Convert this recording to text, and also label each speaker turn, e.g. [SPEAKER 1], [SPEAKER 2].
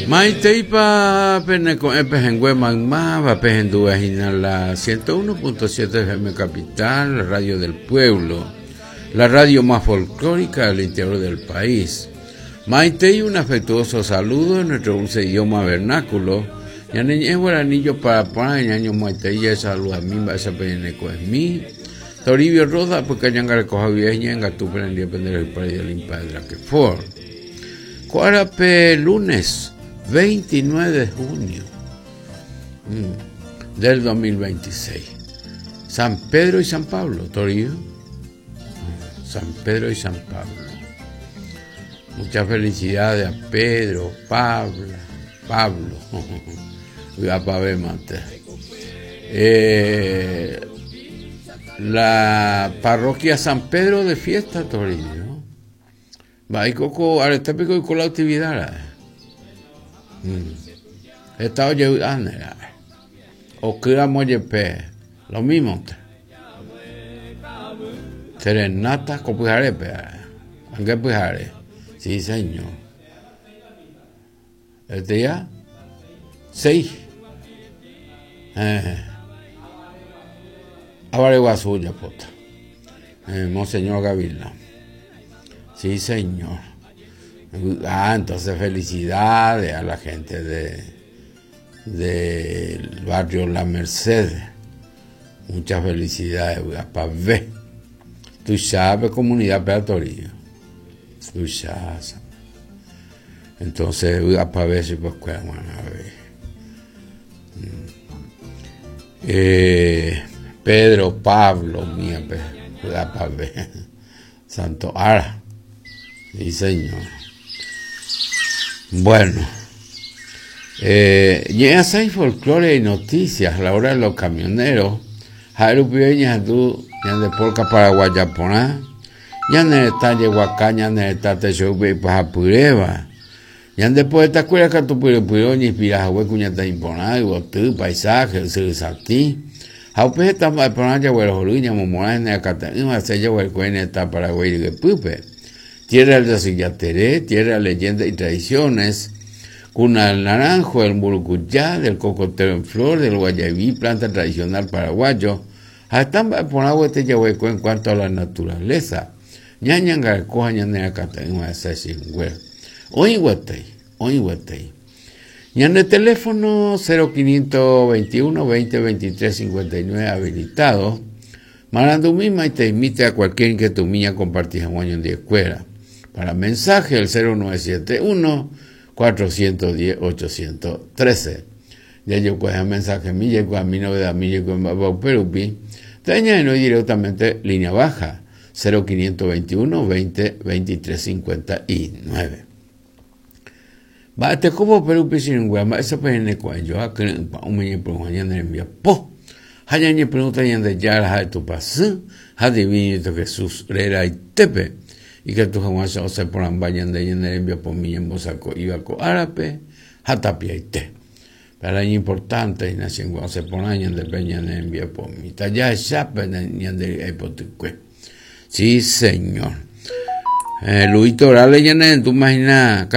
[SPEAKER 1] Maiteipa pene ko'ẽ pehẽngue maymáva pehendúva hína la 101.7 FM Capital, Radio del Pueblo, la radio más folclórica del interior del país. Maitei un afectuoso saludo en nuestro dulce idioma vernáculo. Ñane ñe'ẽ guaraní jopara porã ñañomoaitei jaesaludami mba'éicha peñane ko'ẽmi. Toribio Roda apyka ñangarekoha guive ñe'ẽngatu penendie pende rayhupáre Limpa Draquefort. Ko árape lunes 29 de junio mm, del 2026. San Pedro y San Pablo, Toribio. Mm, San Pedro y San Pablo. Muchas felicidades a Pedro, Pablo, Pablo. Eh, la parroquia San Pedro de Fiesta, Toribio. Mba'éiko ko arete piko oiko la actividad ra'e? Mm. Heta ojevy'áne ra'e. Okýramo jepe, lo mímonte. Serenata ko pyharépe ra'e. Ange pyhare. Sí, señor. Este día, 6. Eh. Avareguasu ojapóta. Eh, Monseñor Gavilán. Sí, señor. Ah, entonces felicidades a la gente de del barrio La Merced. Muchas felicidades, pa ver. Tú sabes, comunidad Peatorio. Tú sabes. Entonces, pa ver si pues a ver. Eh, Pedro, Pablo, mía, pa ver. Santo Ara. Sí, señor. Bueno. Eh, ñe'ẽasãi folclore y noticias, la hora de los camioneros. Ha'e rupive ñahendu ñande polka paraguaya porã, ñane retã jeguaka, ñane retã techoýpe ipahapyréva. Ñande poetakuéra katu pyrypyre oñeinspira hague kuñataĩ porã, yvoty, paisaje, ysyry satĩ. Ha upe heta mba'e porã jaguerohory ñamomorã hene akate'ỹva hese jaguereko hene hetã Paraguái ryepýpe. Tierra del Yasyjatere, tierra de leyendas y tradiciones, cuna del naranjo, del mburukuja, del cocotero en flor, del guayaibí, planta tradicional paraguayo, ha heta mba'e porã guete jaguereko en cuanto a la naturaleza. Ñañangareko ha ñanerakate'ỹva hese chingue. Oĩ guetei, oĩ guetei. Ñande teléfono 0521 20 23 59 habilitado. Marandumi maiteimi térã cualquier inquietudmi ñakomparti hag̃ua ñandivekuéra. Para mensaje el 0971 410 813. Jajokuaha mensajemi, jaikuaami novedadmi, jaikuaa mba'épa upe rupi. Térã ñahenói directamente línea baja 0521 20 23 59. Mba'etekópa upe rupi che irũnguéra, mba'éichapa ñaneko'ẽjoa kyre'ỹ pa'ũme ñepyrũha ñane rembiapo ha ñañepyrũta Ñandejára ha'e Tupãsy ha Divinito Jesús reraitépe, ikatu hag̃uáicha osẽ porãmba ñande ñane rembiapomi ñembosako'íva ko árape ha tapiaite. Péva iñimportánte hína che irũnguéra, osẽ porã ñande pe ñane rembiapomi. Tajahecha pe ñande ry'ái potykue. Sí, Señor. Luis Torales ñanerendúma hína.